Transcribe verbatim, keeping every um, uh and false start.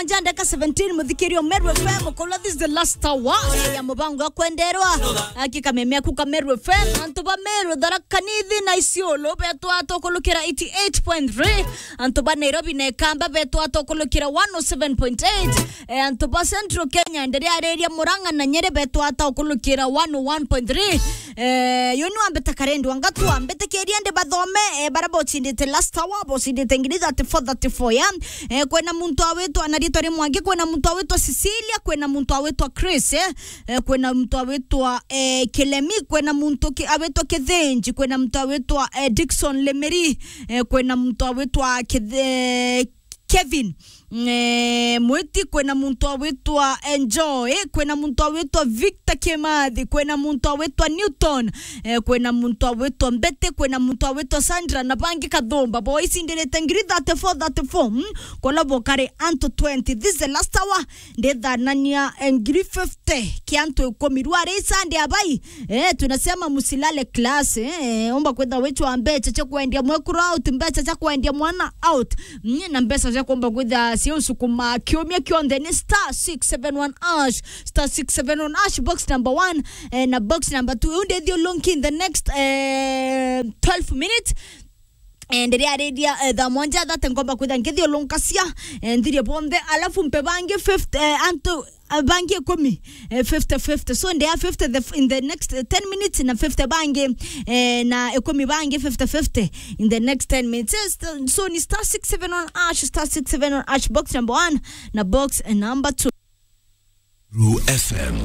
Jandeka seventeen, muthikirio Meru F M, kola this is the last hour ya mubango wa kwenderwa. Aki kameme aku ka Meru F M, antu ba Meru, Tharaka Nithi na Isiolo, betwa tokulukira eighty-eight point three. Antu ba Nairobi na Ikamba, betwa tokulukira one oh seven point eight. Eh, antu ba Central Kenya, ndiri ariria Murang'a na Nyeri, betwa tokulukira one oh one point three. Eh, yo ni wambita karendi wangatua, mbitikiria ndi bathome, eh, bara bocindite last hour, bocindite ngiri thirty-four, thirty-four ya. Eh, kwina muntu awitwa na ritwa ri Mwangi, kwina muntu awitwa Cecilia, kwina muntu awitwa Chris, eh. Eh, kwina muntu awitwa, eh, Kilemi, kwina muntu ki-, awitwa Kithinji, kwina muntu awitwa, eh, Dickson Lemeri, eh, kwina muntu awitwa Kith-, eh, Kevin, eh, Mwiti, kwina muntu awitwa Enjoy, kwina muntu awitwa Victor Kimathi, kwina muntu awitwa Newton, eh, kwina muntu awitwa Mbete, kwina muntu awitwa Sandra, na bangi kathumba. Bo icindirite ngiri thirty-four, thirty-four, mm? Kola bokari antu twenty. This is the last hour. Ndithanania, eh, ngiri fifty kia antu ikumi. Rwari Sunday abai, eh, tunasema musilale class, eh, omba kwitha wichwa mbecha cia kwendia mwekuru out, mbecha cia kwendia mwana out, mm, na mbecha cia kuomba kwitha cia usukuma kiumia kionthe ni star six seven one hash, star six seven one hash, box number one, eh, na box number two. Iu ndithiulunki in the next, eh, twelve minutes. Eh, ndiria ariria, eh, thaa mwanja thate ngomba kwitha nkithiulunkacia, eh, nthirie bonthe, alafu mpe bangi fifty, eh, antu, eh, bangi ikumi, eh, fifty fifty. So, ndia fifty the, in the next, eh, ten minutes, na fifty bangi, eh, na ikumi bangi fifty fifty in the next ten minutes. Yes, so, so ni star six seven one hash, star six seven one hash, box number one na box, eh, number two. Ru F M.